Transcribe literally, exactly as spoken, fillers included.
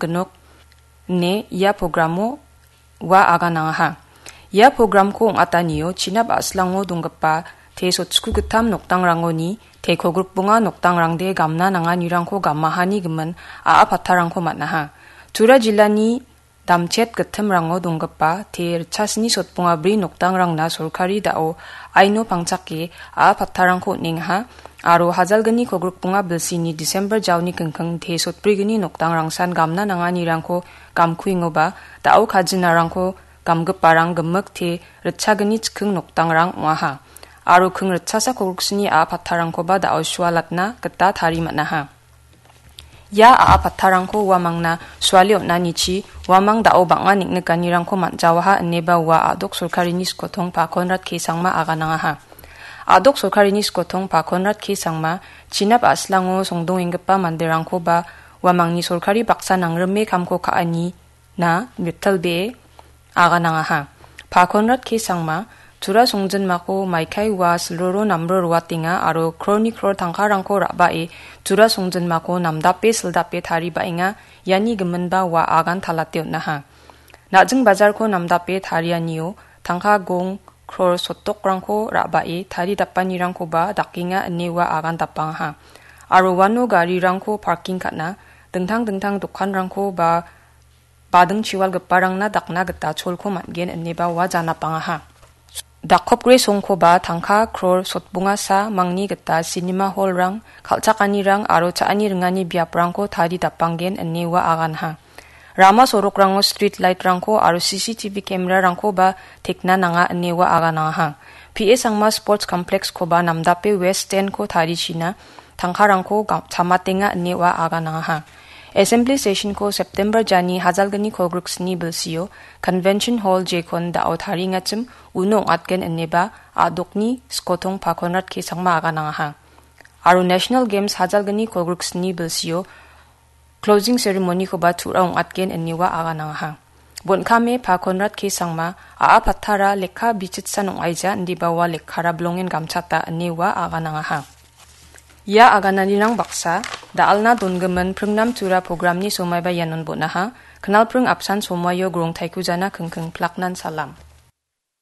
gnok ine ia programo ua aganangaha. Ia programko ong·atanio Chinap a·slango donggipa te sotchku gittam nokdangrangoni te kolgrikbonga nokdangrangde gamna nanganirangko gamahani gimin a·a pattarangko man·aha. Tura jilani Damchet gittimrango donggipa te ritchasni sotbonga bri nokdangrangna sorkari da·o aino pangchake a·a pattarangko on·engaha aro hajalgni kolgrikbonga bilsini December jaoni kingking te sotbrigni nokdangrangsan gamna nanganirangko gamkuengoba da·o kajinarangko gamgiparang gimik te ritchagni chikking nokdangrang ong·aha. Aro king ritchasa kolgriksni a·a pattarangkoba da·o sualatna gita tari man·aha. Ia a·a pattarangko uamangna suale on·anichi uamang da·o bang·a neng·nikanirangko man·jawaha ineba ua a·dok sorkarini skotong Pa Konrad K Sangma aganangaha. A·dok sorkarini skotong Pa Konrad K Sangma Chinap a·slango songdongenggipa manderangkoba uamangni sorkari baksa nangrime kamko ka·ani na mitalbee aganangaha. Pa Konrad K Sangma, Tura songjinmako maikai ua silroro namro roatenga aro kroni kror tangkarangko ra·bae Tura songjinmako namdape sildape taribaenga, iani giminba ua agan talate on·aha. Na·jing bajarko namdape tarianio tangka gong kror sotdokrangko ra·bae taridapanirangkoba dakenga ine ua agan dapangaha. Aro uano garirangko parking ka·na, dingtang dingtang dokanrangko ba bading chiwalgiparangna dakna gita cholko man·gen ineba ua janapangaha. Dakopgre songkoba tangka kror sotbongasa mangni gita sinima hall-rang, kal·chakanirang aro cha·ani ringani biaprangko tari dapanggen ine ua aganha. Rama sorokrango street light-rangko aro C C T V camera-rangkoba tekna nanga ine ua aganangaha. P A Sangma Sports Complex-koba namdape West Stand-ko tarichina tangkarangko ga-, chamatenga ine ua aganangaha. Assembly Session-ko September jani hajalgni kolgriksni bilsio Convention Hall jekon da·o tariengachim uno ong·atgen ineba a·dokni skotong Pa Konrad K Sangma aganangaha. Aro National Games hajalgni kolgriksni bilsio Closing Ceremony-koba tu·ra ong·atgen ine ua aganangaha. Bon·kame Pa Konrad K Sangma, a·a pattara lekka bichitsan ong·aija indiba ua lekkara bilongen gamchata ine ua aganangaha. Ia agananirang baksa, da·alna dongimin Pringnam Tura programni somaiba ianon bon·aha. Knalpring apsan somaio grongtaiko jana kingking plaknan salam.